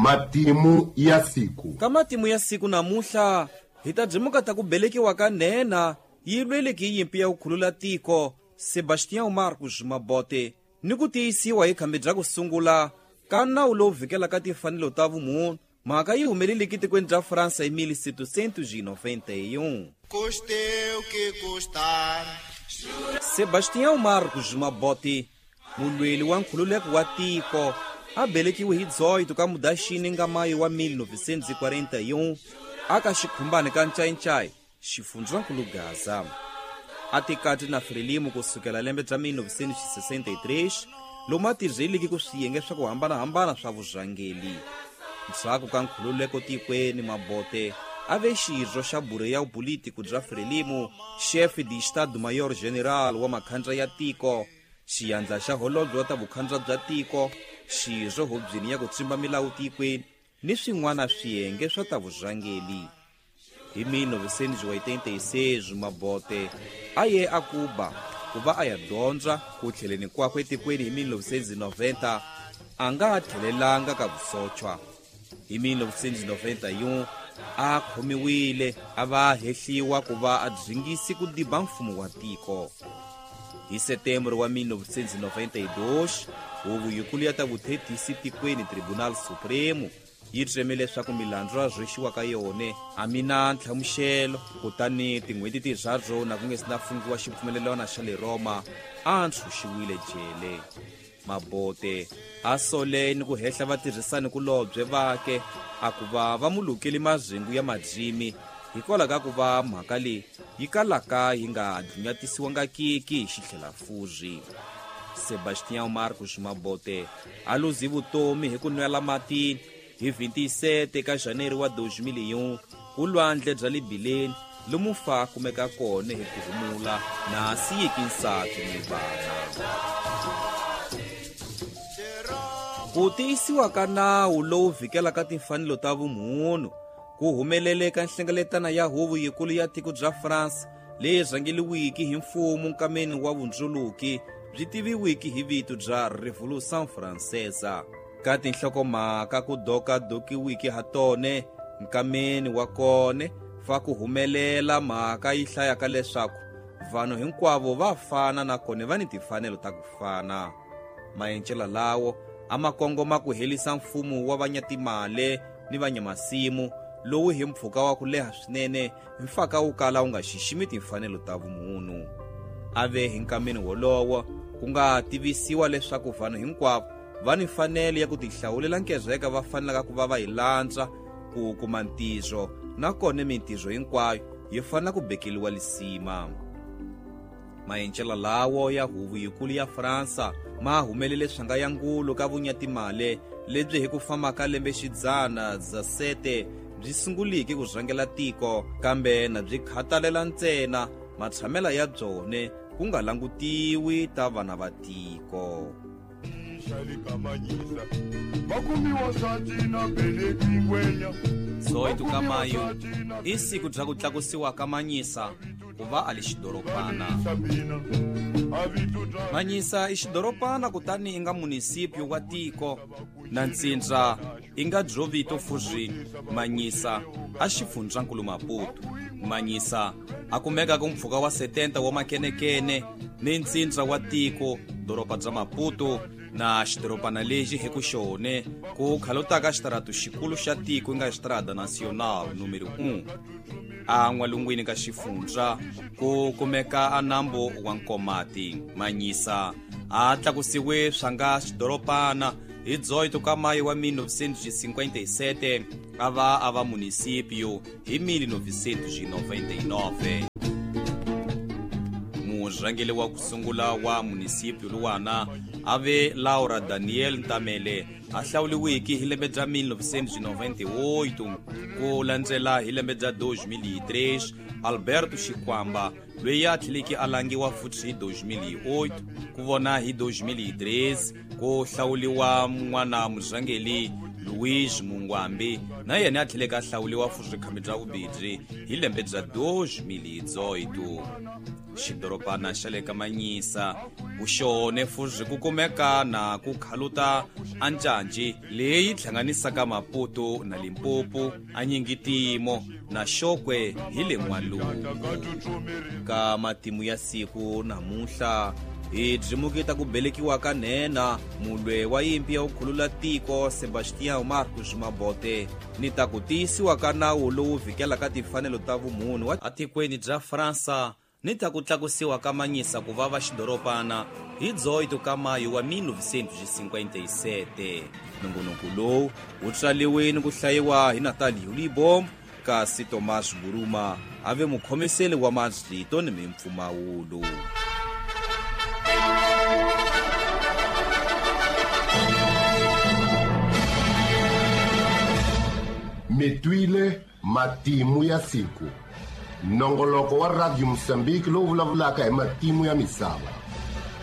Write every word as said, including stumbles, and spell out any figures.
Matimu ya siku. Ka matimu ya siku namuhla hi ta byimuka ta ku belekiwa ka nhenha yi lweleke yimpi ya ku khulula tiko Sebastião Marcos Mabote ni ku tiyisiwa hi khambi bya ku sungula ka nawu lowu vhikelaka timfanelo ta vumunhu. Mhaka yi humeleleke tikweni bya Fransa hi mil setecentos e noventa e um. Custe o que custar. Sebastião Marcos Mabote, mulweli wa nkhululeko wa tiko, a belekiwe hi dezoito ka Mudaxini nga mayo wa mil novecentos e quarenta e um aka xikhumbani ka Ncayincai, xifundzankulu Gaza. A tikati na Frelimo kusukela lembe bya mil novecentos e sessenta e três, lomu a tirheliki ku swiyenge swa ku hambanahambana swa vurhangeli. Ndzhaku ka nkhululeko tikweni, Mabote a ve xirho xa buro ya politiko bya Frelimo, chefe de Estado-Maior General wa makhandla ya tiko, xiyandla xa holobye wa ta vukhandla bya tiko, xirho hubyeni ya ku tsimba milawu tikweni ni swin'wana swiyenge swa ta vurhangeli. Hi mil novecentos e oitenta e seis, Mabote a ye a Cuba ku va a ya dyondza. Ku tlheleni kwakwe etikweni hi mil novecentos e noventa, a nga tlhelelanga ka vusochwa. Hi mil novecentos e noventa e um, a khomiwile a va hehliwa ku va a dzingisi ku diba mfumo wa tiko. Hi setembro wa mil novecentos e noventa e dois, huvo yikulu ya ta vuthethisi tikweni Tribunal Supremo yi tseme leswaku milandzu ya rhwexiwa ka yona a mi na ntlhamuxelo, kutani tin'hweti tinharhu na ku nge si na fungiwa xipfumelelwana xa le Roma, a ntshunxiwile jele. Mabote a sole ni ku hehla vatirhisani kulobye vake a ku va va mulukeli mazingu ya madzimi hikwalaho ka ku va mhaka leyi yi kalaka yi nga dlunyatisiwangakiki hi xitlhelafuzi. Sebastião Marcos Mabote a luzi vutomi hi ku nwela matini hi vinte e sete ka janeiro wa dois mil e um ku lwandle bya le Bileni lomu fa kumeka kona hi ku humula na siyiki nsati ni vana. Ku tiyisiwa ka nawu lowu vhikelaka timfanelo ta vumunhu ku humelele ka nhlengeletano ya huvo yikulu ya tiko bya France leyi rhangeliwiki hi mfumo nkameni wa vundzuluki byi tiviwiki hi vito bya Revolution Francesa. Ka tinhlokomhaka ku dokadokiwiki ha tone nkameni wa kone fa ku humelela mhaka yi hlayaka leswaku vanhu hinkwavo va fana nakona va ni timfanelo ta ku fana. Maendlelo lawo a ma kongoma ku helisa mfumo wa vanyatimale ni vanyamasimu lowu hi mpfhuka wa ku leha swinene mfaka wu kala wu nga xiximi timfanelo ta vumunhu. A ve hi nkameni wolowo ku nga tivisiwa leswaku vanhu hinkwavo va ni mfanelo ya ku tihlawulela nkezeka va fanelaka ku va va yi landza ku kuma ntirho, nakona mintirho hinkwayo yi fanela ku bekeliwa lisima. Maendlelo lawo ya huvo yikulu ya Fransa ma humelele swanga ya ngulu ka vunyatimale lebyi hi ku famba ka lembexidzana dezessete byi sunguliki ku rhangela tiko, kambe na byi khatalela ntsena matshamela ya byone ku nga langutiwi ta vana va tiko. dezoito ka mayo i siku bya ku tlakusiwa ka Manyisa ku va a li xidoropana. Manyisa i xidoropana kutani i nga munisipio wa tiko na ntsindza i nga byo vito fuzi Manyisa a xifundzankulu Maputo. Manyisa a kumeka ku mpfhuka wa setenta wa makenekene ni ntsindza wa tiko doroba bya Maputo na xidoropana lexi hi ku xone ku khalotaka xitaratu xikulu xa tiko i nga Estrada Nacional numero um. A n'walungwini ka xifundza ku kumeka a nambu wa Nkomati. Manyisa a tlakusiwe swa nga xidoropana hi dezoito ka mayo wa mil novecentos e cinquenta e sete a va a va munisipio hi mil novecentos e noventa e nove. Murhangeri wa ku sungula wa munisipio luwana a ve Laura Daniel Ntamele a hlawuriwiki hi lembe bya mil novecentos e noventa e oito ku landzela hi lembe bya dois mil e três Alberto Xikwamba loyi a tlheleke a langiwa futhi hi dois mil e oito ku vona hi dois mil e treze ku hlawuriwa n'wana murhangeri Luis Mungwambi na yena a tlheleke a hlawuriwa futhi khambi bya vumbirhi hi lembe bya dois mil e dezoito. Xidorobana xa le ka Manyisa kuxone fuzi ku kumeka na ku khaluta ancanci leyi hlanganisaka Maputo na Limpopo anyingitimo na Xokwe hi le N'walungu. Ka matimu ya siku namuntlha hi byi ku belekiwa ka nhenha mulwe wa yimpi ya ku khulula tiko Sebastião Marcos Mabote ni ta ku tiyisiwa ka nawu lowu vhikelaka timfanelo ta vumunhu wa atikweni bya Fransa ni ta ku tlakusiwa ka Manyisa ku va va xidorobana hi dezoito ka mayo wa mil novecentos e cinquenta e sete. Nongonoko lowu wu tswaliwe ni ku hlayiwa hi Natalie Libom, kasi Tomás Buruma a ve mukhomiseli wa marito ni mimpfumawulo. Mitwile matimu ya siku. Nongoloko wa Radio Mozambique lowu vulavulaka hi matimu ya misava.